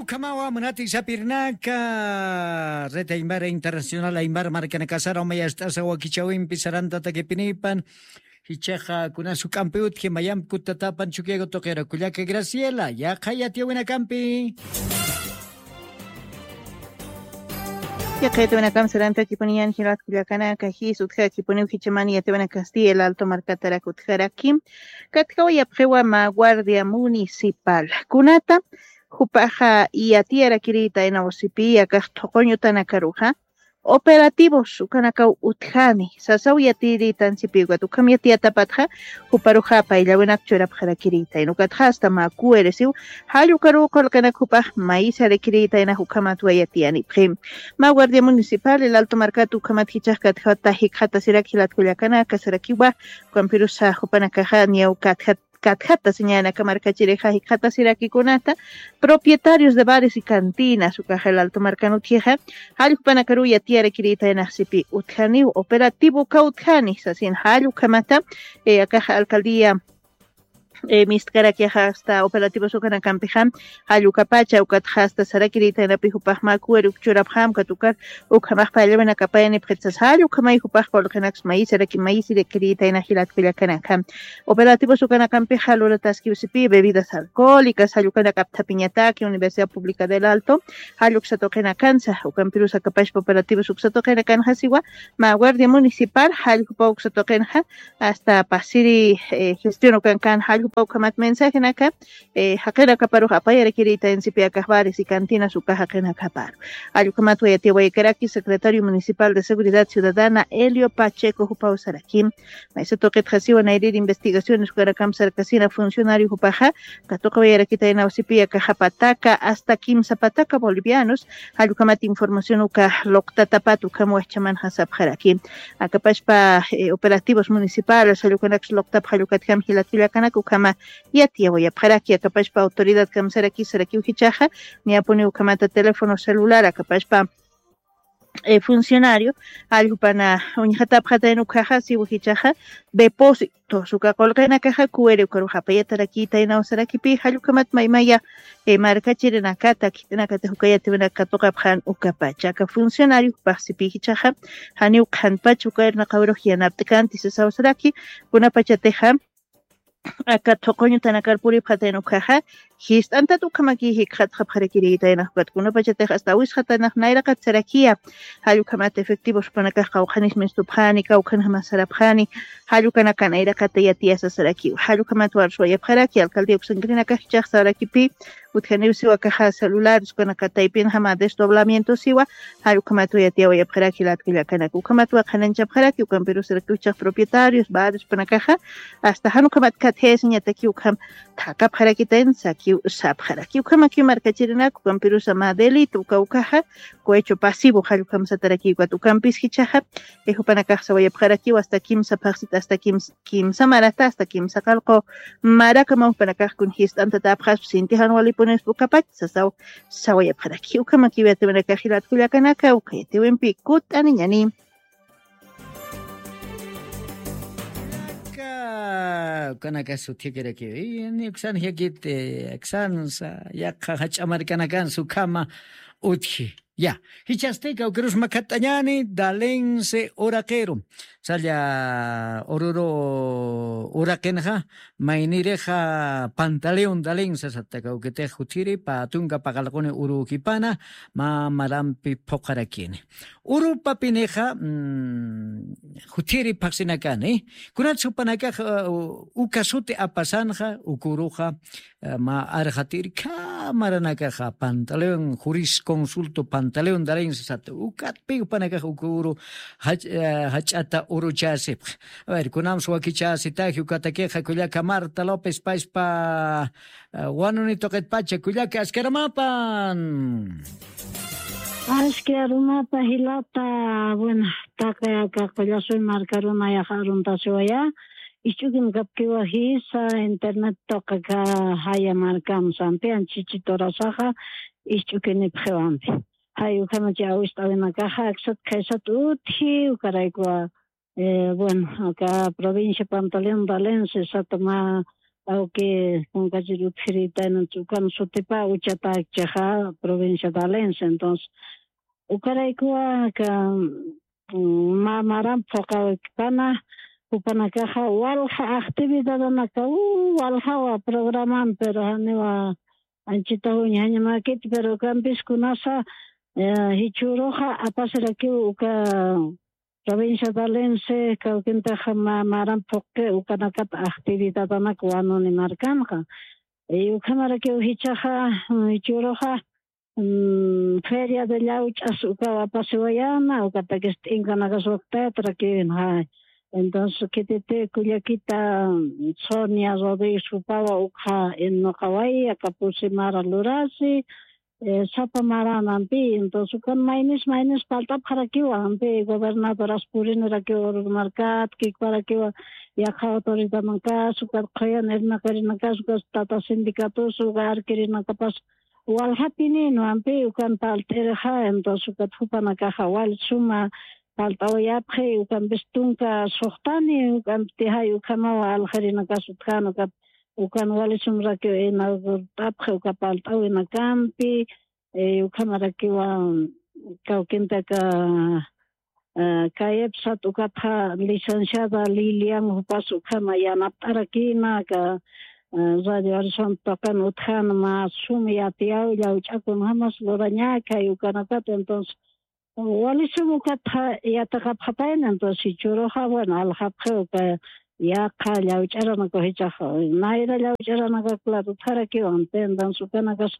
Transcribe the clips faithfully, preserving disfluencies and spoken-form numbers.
Ukhamawa munati sapirnaka, Red Aymara Internacional Aymara markanakasara umayast'asa wakichawimpi sarantatakipinipan, jichaqa kunas juk'ampi utji mayampi kutatapan chukiyagu tuqira kullaka Graciela, yaqha yatiyawinakampi. Yaqha yatiyawinakam sarantakipuniyan jilat kullakanaka, jis utjakipuniw jichaman yatiyawinakasti El Alto markatarak utjaraki. Katjawa yapqiwa mä guardia municipal. Kunata jupaxa yatiyarakirïta inawsipi akax thuquñutanakaruxa operativos ukanakaw utjani sasaw yatiyirïtan sipi, ukat ukham yatiyatapatxa juparuxa payllawinak churapxarakirïta ina, ukatxa asta mä kuwirisiw jall ukaruw qullqinak jupax mayisarakirïta ina, ukhamatwa yatiyanipxi. Mä guardia municipal El Alto markat ukhamat jichax katjata jikxatasirak jilat kullakanaka sarakiwa, ukampirusa jupanakaxa niyaw katjat katjata señanaka markachirixa jikxatasirakikunata propietarios de bares y cantinas ukaxa El Alto markan utjixa, jall jupanakaruw yatiyarakirïta inax sipi utjaniw operativo uka utjani sasin, jall ukhamata akaxa alcaldía mist'karakixa asta operativos ukanakampixa, jall ukapacha ukatxa asta sarakirïta inapi jupax mä kuwir uk churapxam ukat ukar ukhamax payllawanakapayanipxitsa, jall ukhamay jupax qullqinaks mayisiraki mayisirakirïta ina jilat kullakanaka. Operativos ukanakampixa lurataskiw sipi bebidas alcohólicas, jall ukanak apthapiñataki Universidad Pública del Alto, jall uksa tuqinakansa, ukampirus akapachpa operativos uksa tuqinakanxa siwa, mä guardia municipal jall jupa uksa tuqinxa asta pasiri gestión ukankan, jall jupa ukhamat mensajenaka jaqinakaparux apayarakirïta insipi akax bares y cantinas uka jaqinakaparu. Jall ukhamatwa yatiyawaykaraki secretario municipal de seguridad ciudadana Elio Pacheco jupaw saraki. Maysa tuqitxa siwa nayrïr investigaciones ukanakam sarkasina funcionario jupaxa katuqawayarakita inawsipi akaxa pataka asta kimsa pataka bolivianos, jall ukhamat información uka luqtatapat ukham wajchamanxa sapxaraki. Akapachpa operativos municipales jall ukanaks luqtap jall ukatjam jilat kullakanak ukhama yatiyawayapxaraki. Akapachpa autoridad kamsaraki sarakiw jichaxa niyapuni ukhamata teléfono celular akapachpa funcionario jall jupana uñjatapxatayn ukhaxa siwa jichaxa depósitos uka qullqinakaxa kuwiri ukarux apayatarakïta inaw sarakipi, jall ukhamat maymaya markachirinakata khitinakatix uka yatiyawinaka katuqapxän ukapacha aka funcionario jupax sipi jichaxa janiw qhanpach uka irnaqawirux yanapt'kanti sasaw saraki. Kunapachatixa aka thuquñutanakar puripxatayn ukhaxa jist'antat ukhamaki jikxatxapxarakirïta inax, ukat kunapachatix asta awisxatanax nayraqat sarakiya jall ukhamat efectivos jupanakax qawqhanis mistupxani kawkhanjama sarapxani, jall ukanakan nayraqata yatiyasa sarakiw. Jall ukhamat warsuwayapxaraki alcaldía uksankirinakax jichax sarakipi utjaniw siwa akaxa celulares ukanaka taypinjama desdoblamiento siwa, jall ukhamatwa yatiyawayapxaraki jilat kullakanaka. Ukhamatwa qhananchapxaraki ukampirus sarakiw jichax propietarios bares jupanakaxa asta jan ukhamat khatjayasiñataki ukham thaqapxarakitayn sakiw sapxaraki. Ukhamakiw markachirinak ukampirusa mä delito uka ukaxa cohecho pasivo jall ukham satarakiw, ukat ukampis jichaxa jupanakax sawayapxarakiw asta kimsa phaxsit asta kimsa kimsa marata asta kimsa qallqu marakamaw jupanakax kun jist'antatapxaspa sinti jan walipunispa ukapach sasaw sawayapxaraki. Ukhamakiw yatiyawinakax jilat kullakanaka uka yatiyawimpi kut'aniñani. Ukanaka sutjikirakiw ni uksan jikit aksansa yaqha jach'a markanakansa ukhama utji. Ya, jichhasti kawkirus makhat'añäni Dalense uraqiru. Salla ururu uraqinxa maynirixa Pantaleón Dalense sata kawkitix juthiri pä tunka paqallquni urukipana mä marampi phuqarakini. Urupapinixa juthiri phaxsinakani. Kunatsa jupanakax uka suti apasanxa uk uruxa mä arxatirkha maranakaxa Pantaleón, jurisconsulto Pantaleón Dalense sata, ukatpi jupanakax uk uru jach'ata uruchäsipxa. A ver, kunamsa wakichäsitaji ukatakixa kullaka Marta López payspa wanuni tuqitpacha kullaka askaramapan. Aski arunata jilata, bueno, taqi aka Qullasuy markaruna yaqa aruntasiwaya, isch'ukin kapkiwa jisa internet tuqi aka jaya markam sampi anchichi turasaxa isch'ukinipxiwampi. Jay ukhamachi awist'awinakaxa aksat khaysat utji ukaraykuwa. Bueno, aka provincia Pantaleón Dalense sata mä awki kunkachir utjirita, entonces ukan sutipa uchatakchixa provincia Valencia. Entonces ukaraykuwa ka ma maran phuqawikpana, jupanakaxa walja actividadanaka waljawa programan, pero janiwa anchita juñjañamakit, pero ukampis kunasa jichhüruxa apasirakiw uka provincia Valencia kawkintaxa ma maran phuqi ukanakat actividadanak wanuni markanxa. Y ukhamarakiw jichhaxa jichhüruxa feria de llawch'as ukaw apasiwayana, ukatakis t'inkanakas waktayatarakiwinxa. Entonces khititi kullakita Sonia Rodríguez jupawa ukxa innuqaway aka pusi mara lurasi, sapa maranampi. Entonces ukan maynis maynis palt'apxarakiwa ampi, gobernadoras purinirakiwa ururmarkat kikparakiwa, yaqha autoridamankas ukat qhuyan irnaqirinakas ukas tata sindicatos uka arkirinakapas waljapinïnwa ampi ukan palt'irixa. Entonces ukat jupanakaxa wal suma palt'awayapxi, ukampis tunka suxtani, ukampiti jay ukhamawa aljirinakas utjän ukat ukan wali sumrakiw inaugurt'apxi uka palt'awinakampi. Ukhamarakiwa kawkintaka kayipsat ukatxa licenciada Lilian jupas ukhama yanapt'arakïna aka Radio Horizonte tuqin utjän mä sum yatiyaw llawch'a kunjämas lurañäki jay ukanakat. Entonces wali sum ukatxa yatiqapxapayna, entonces jichhüruxa bueno aljapxi uka yaqha llawch'aranakaw jichhax nayra llawch'aranakaw claro utjarakiwa, entonces ukanakas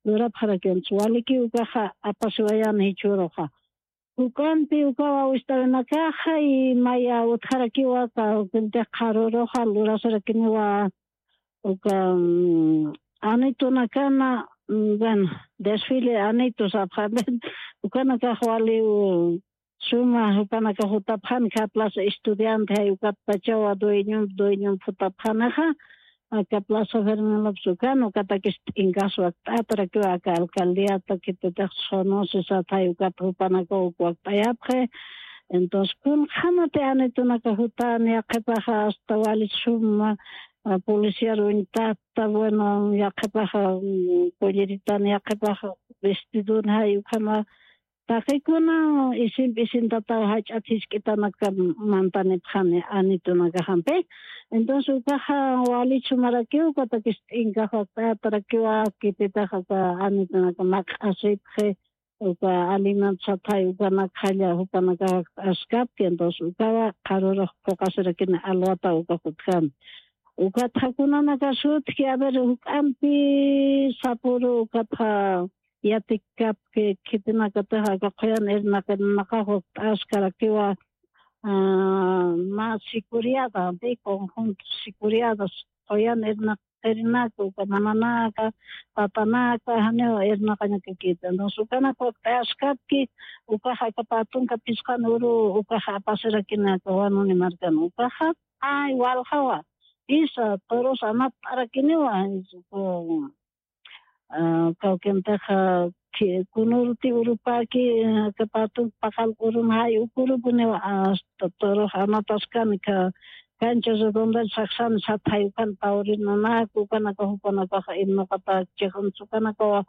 lurapxarakiwa, entonces walikiw ukaxa apasiwayana jichhüruxa. Ukanti ukawa wist'awinakaxa y maya utjarakiwa kawkintix qharüruxa lurasirakiniwa uka anitunakana, bueno, desfile anitu sapxani, ukanakax waliw suma jupanakax jutapxani, kha plaza estudiante jay ukatpachawa dueñomp dueñomp jutapxanixa aka plaza Fermín López ukan, ukatakis t'inkaswa wakt'atarakiwa aka alcaldiata khititix sonosisat jay ukat jupanakaw uk wakt'ayapxi. Entonces kunjämati anitunaka jutani yaqhipaxa hasta wali suma policiar uñtata, bueno yaqhipaxa polleritani yaqhipaxa vestidun jay ukhama taqikuna isimp isintataw jach'at jisk'itanaka mantanipxani anitunakaxampi. Entonces ukaxa wali sumarakiw ukatakis t'inkaswa wakt'atarakiwa khititix aka anitunaka mak'asipxi uka alimentos satay ukanakxalla jupanakax wakt'askapki, entonces ukawa qharürux phuqasirakini alwataw ukax utjani. Ukatxa kunanakax utjki a ver juk'ampi sapüru ukatxa yatikapki khitinakatix aka qhuyan irnaqinakax wakt'askarakiwa mä sicuriada, de conjunto sicuriadas qhuyan irnaq qhirinaka uka nananaka tatanaka janiw irnaqañakakita, entonces ukanaka wakt'ayaskapki ukaxa aka pä tunka phisqan uru ukaxa apasirakinaka wanuni markan ukaxa. Ay waljawa isa torus anapt'arakiniwa. Kawkintixa kunurti urupäki aka pä tunka paqallq urun jay uk urupuniwa asta torux anataskani aka cancha redonda saksani sathay ukan tawrinanaka ukanaka jupanakaxa irnuqatäkchixan ukanakawa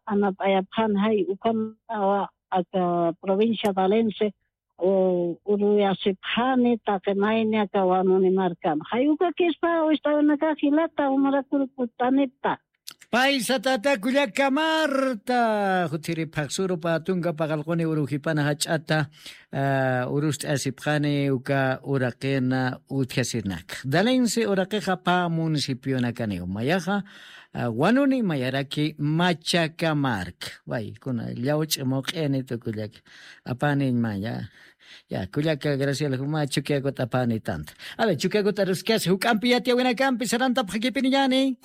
anat'ayapxani jay ukanawa aka provincia Valencia uruyasipxani taqi mayni aka wanuni markam jay ukakispa wist'awinakax jilata jumarakuruput'anipta. Paysa tata kullaka Marta juthiri phaxsuru pä tunka paqallquni urujipana jach'ata urust'asipxani uka uraqina utjasirinaka. Dalense uraqixa pä municipionakaniw mayaxa wanuni mayaraki Machaka mark. Way kuna llawch'i muq'ini tukullaka apaniñ maya. Ya kullaka Graciela juma chukiakut apani tanta. A ver chukiakut aruskasi juk'ampi yatiyawinakampi sarantapxakipiniñani.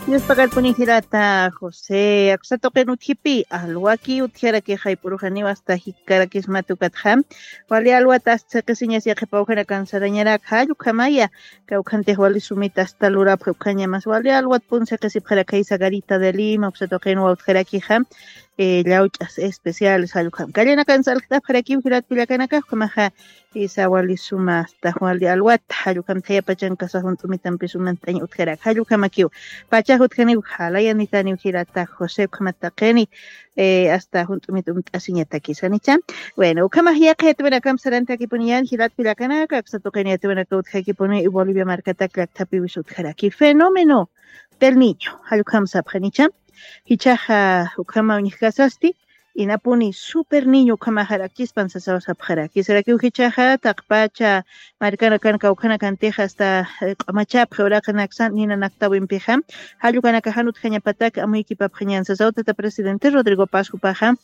Diospa karpuni jirata José aksatuqin utjipi alwaki utjaraki jayp'urujaniwa asta jikkarakismata ukatxa wali alwata asta siqisiñas yaqhipawjanakan sarañarak jallukhamaya. Kawkhantix wali sumita asta lurapxa ukhañamas wali alwat pun siqisipxarakay sagarita de lima uksatuqinwa utjarakixa. eh, llawch'as especiales jallukam. Kallanakan salqt'apxarakiw jilat kullakanakax, ukhamaxa, eh, sawalisuma hasta Juan de Alwata, jallukam thayapachan kasa junt'umitampi sumant'añ utjarak, jallukamakiw. Pachax utjaniw jalayanitaniw jilata José, ukhamat taqini, eh, hasta junt'umit umt'asiñatakisanicha. Bueno, ukhamax yaqi yatwinakam sarantakipuniyan jilat kullakanaka, aksa tuqini yatwinaka utjakipuni Bolivia markatak llakthapiwis utjaraki. Fenómeno del Niño, jallukam sapxanicha. Jichhaxa ukhama uñjkasasti, inapuni Super Niño ukhamaxarakchispan sasaw sapxaraki. Sarakiw jichhaxa taqpacha markanakan kawkhanakantixa hasta, eh, q'amachapxi uraqinaksan nina naktawimpixa. Jallukanakaxan utjañapatak amuykipapxañan sasaw tata presidente Rodrigo Paz jupaxa.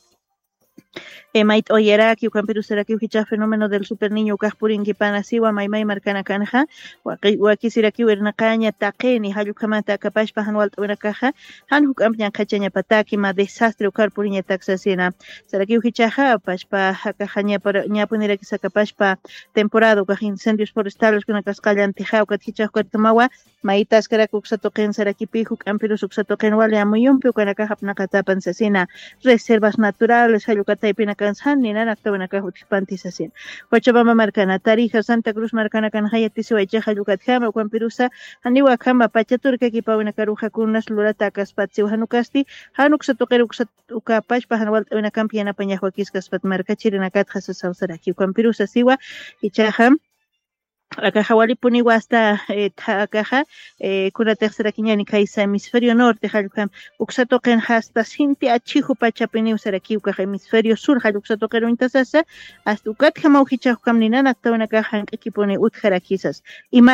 Eh, mayt'awayaraki, ukampirusarakiw jichhax fenómeno del Super Niño ukax purinkipana siwa maymay markanakanxa, waqi-, wakisirakiw irnaqaña taqini, jallukhamata akapashpa jan walt'awinakaxa, jan juk'amp ñanqhachañapataki, mä desastre ukar puriñatak sasina. Sarakiw jichhaxa, apashpa, akaxa ñapara-, ñapunirakis akapashpa, temporada ukax incendios forestales kunakasqa allantixa, ukat jichhax ukatkamawa, maytaskarak uksa tuqin sarakipi, juk'ampirus uksa tuqin wali amuyumpi ukanakax apnaqatapan sasina, reservas naturales, jallukataypinakan san, ninan aktawinakax utjpanti sasina. Cochabamba markana, Tarija, Santa Cruz markanakan jayatisiwaychix jallukatjama, ukampirusa, janiwa akhama, pachaturkakipawinakaruxa kunas lurata akaspat siwa jan ukasti, jan uksa tuqir uksa ukapashpa jan walt'awinakampi yanapañax wakiskaspat markachirinakatxa sasaw saraki, ukampirusa siwa, jichhaxa, akaxa walipuniwa hasta, eh, tha-, akaxa, eh, kunatix sarakiñani kaysa hemisferio norte, jallukam, uksa tuqin hasta sinti achiju pachapiniw sarakiw kaxa hemisferio sur, jalluksa tuqir uñtasasa, hasta ukatjamaw jichhax ukam ninan aktawinakax jank'akipuni utjarakisas. Ima